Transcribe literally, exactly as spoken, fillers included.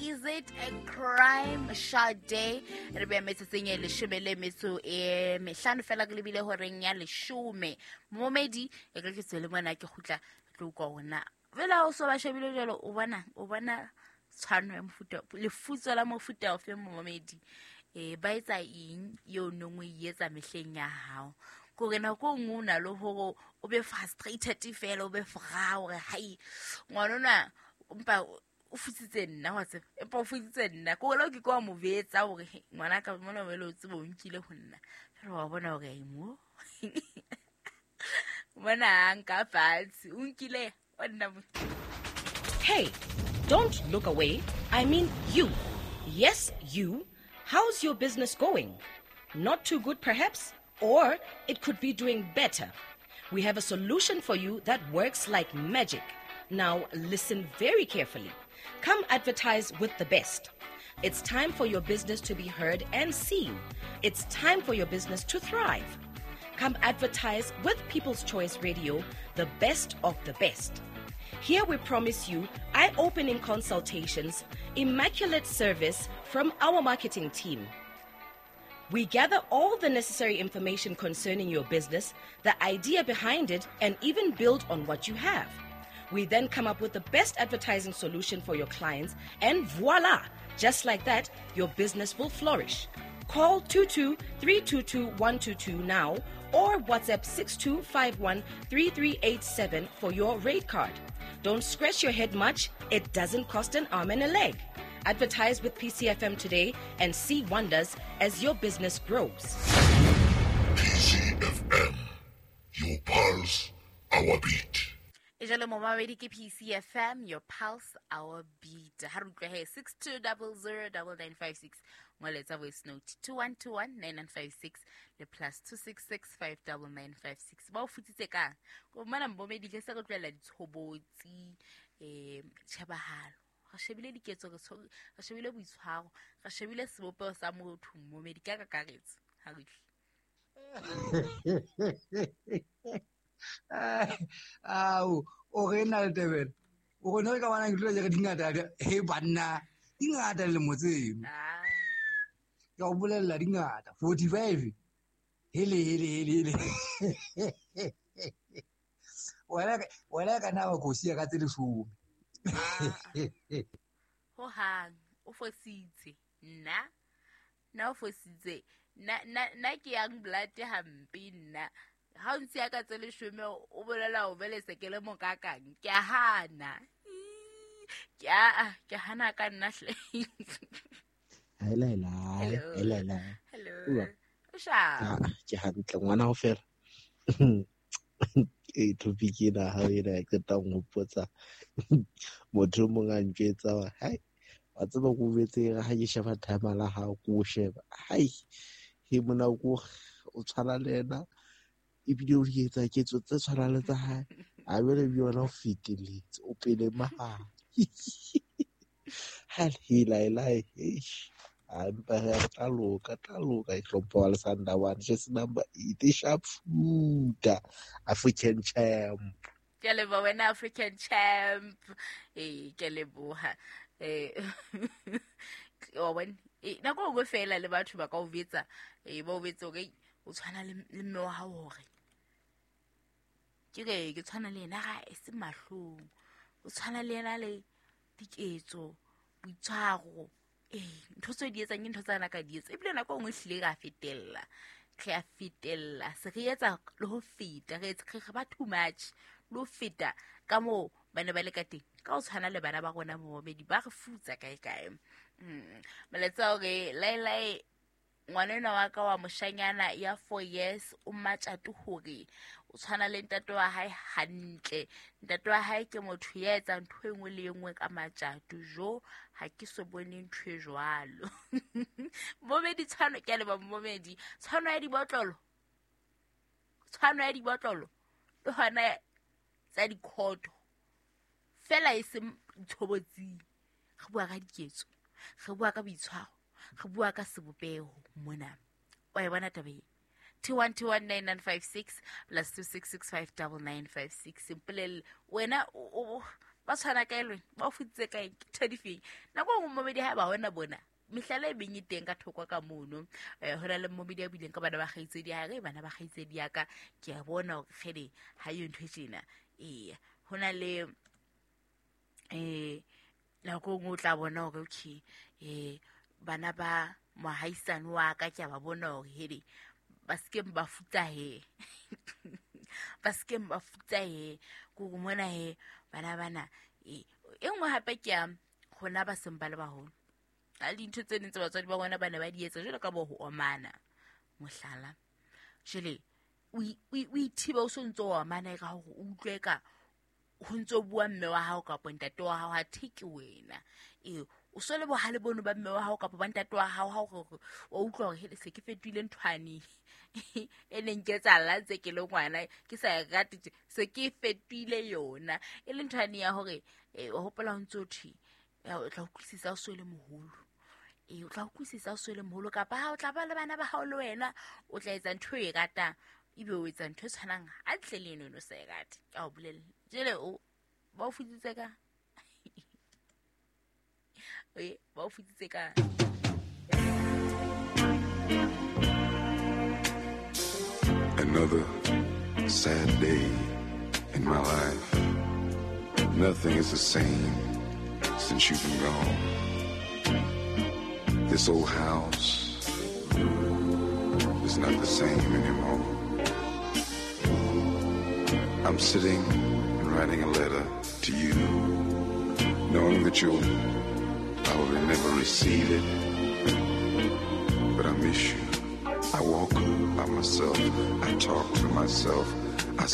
Is it a crime? Sade re be metsotsong e leshome le metso e mehlano fela ke lebile horeng ya leshome. Momedi e ke ke tswele mona ke kgutla tlo utlwa hona. Fela o so ba shebile jwalo o bona o bona tshwano ya mofuta lefutso la mofuta ofe momedi. Eh ba etsa eng eo nong o e etsa mehleng ya hao? Kore nako e nngwe o na le hore o be frustrated fela o be fra hore hai ngwana ona empa o futsitse nna wa tseba empa o futsitse nna kore le o ke ke wa mo betsa hore he, ngwana ka mona wele o tsebe o nkile ho nna fela wa bona hore ai mo mona a nka fatshe o nkile o nna mo. Hey, don't look away. I mean you. Yes, you. How's your business going? Not too good, perhaps? Or it could be doing better. We have a solution for you that works like magic. Now, listen very carefully. Come advertise with the best. It's time for your business to be heard and seen. It's time for your business to thrive. Come advertise with People's Choice Radio, the best of the best. Here we promise you eye-opening consultations, immaculate service from our marketing team. We gather all the necessary information concerning your business, the idea behind it, and even build on what you have. We then come up with the best advertising solution for your clients, and voila! Just like that, your business will flourish. Call two two three two two one two two now or WhatsApp six two five one three three eight seven for your rate card. Don't scratch your head much. It doesn't cost an arm and a leg. Advertise with P C F M today and see wonders as your business grows. P C F M, your pulse, our beat. E jalo momamedi ke P C F M, your pulse, our beat. Ha re utlwe he, six two double zero double nine five six. Ngoletsa voice note two one two one nine nine five six le plus two six six five double nine five six. Ba o futsitse kang? Ko mana momamedi ke se re tlohella ditshobotsi, eh, tjhebahalo. Re shebile diketso, re tsho-, re shebile boitshwaro, re shebile sebopeho sa motho momedi ka kakaretso. Ha re utlwe. Ao, o re na le Tebele. O re no ka bona ke tlo re dingata, he banna, dingata le motseng. Ah. Ke o bolella dingata, forty-five. Hele, hele, hele, hele. Wena, wena ka na ba go sia ka tse leshome. Ah. Ho hang, o fositse. Nna, nna o fositse. Nna, nna, nna ke young blood hampe nna. Ha o ntse ya ka tse leshome o bolela o bele se ke le mokakang. Ke a hana. Ke a, ke hana ka nna hle. Hela, hela, Hello. hela, hela. Hello. Uwa. O sharp. Ah, ke hantle ngwana ho fela. E topic ena ha ena e qeta ho nkgopotsa. Motho o mong a ntjwetsa hore, hai, wa tseba ko betse ha ke sheba timer la hao, ko o sheba. Hai, he mona ko o tshwana le yena. Ebile o di etsa ketso tse tshwanang le tsa hae. A jwale le yona o feteletse, o pele mahare. Ha hela, hela, eish. A mpa re a tla loka, tla loka, e hlompha wa Lesanda one, jersey number eight, e sharp shooter, African champ. Ke a leboha wena African champ. Eh, ke a leboha. Eh, wa bona, eh, nako e nngwe fela le batho ba ka o betsa, eh, ba o betsa hore, o tshwana le, le mme wa hao hore. Ke re, ke tshwana le yena ga e se mahlong. O tshwana le yena le diketso, boitshwaro. Eh, ntho tseo di etsang ke ntho tsa nna ka di etsa. Ebile nako e nngwe ehlile re a fetella. Re a fetella. Se re etsa le ho feta. Re etsa, re ba too much. Le ho feta ka moo ba ne ba le ka teng. Ka ho tshwana le bana ba rona bo babedi, ba re futsa kae kae. Mm. Molaetsa hore lae lae ngwana enwa wa ka wa moshanyana ya four years o matjato hore o tshwana le ntate wa hae hantle. Ntate wa hae ke motho ya etsang ntho e nngwe le e nngwe ka matjato. Jo, ha ke so bone ntho e jwalo. Momedi tshwano, ke a leboha momedi. Tshwano ya dibotlolo. Tshwano ya dibotlolo. Le hona tsa dikhoto. Fela e se tshobotsing. Re bua ka diketso. Re bua ka boitshwaro. Re bua ka sebopeho mona. Wa e bona taba e? two one two one nine nine five six plus two six six five double nine five six. Mpolelle wena o, o, Ba tshwana kae le wena? Ba o futsitse kae? Ke ntho difeng? Nako e nngwe momedi ha ba hona bona mehlala e beng e teng ka thoko ka mono. Eh, ho na le momedi a buileng ka bana ba kgaitsedi ya hae, bana ba kgaitsedi ya ka ke a bona hore kgele ha yo ntho e tjena. Eya, ho na le eh nako e nngwe o tla bona hore okay, eh bana ba mohaisane wa ka ke a ba bona hore hele ba se ke ba futsa he. Ba se ke ba futsa he. Ke hore mona he bana bana e e nngwe hape ke ya hona ba seng ba le baholo. A dintho tse ding tse batswadi ba bona ba ne ba di etsa jwalo ka bo ho omana mohlala. Jwale o o ithiba o so ntso o omana ka hore o utlwe ka ho ntso bua mme wa hao kapa ntate wa hao ha theke wena. E o so le bohale bono ba mme wa hao kapa ba ntate wa hao ha o o utlwa hore hele se ke fetohile nthwane e neng ke etsahala ntse ke le ngwana ke sa e rate tje, se ke fetohile yona. E le nthwane ya hore o hopola ho ntso thwe o tla utlwisisa o so le moholo. E o tla utlwisisa o so le moholo kapa ha o tla ba le bana ba hao le wena o tla etsa ntho e ratang ebe o etsa ntho e tshwanang hantle le eno o sa e rate. Ke a o bolella. Jwale o ba o futsitse ka e ba o futsitse ka. Another sad day in my life. Nothing is the same since you've been gone. This old house is not the same anymore. I'm sitting and writing a letter to you, knowing that you'll probably never receive it, but I miss you. I walk by myself, I talk to myself, I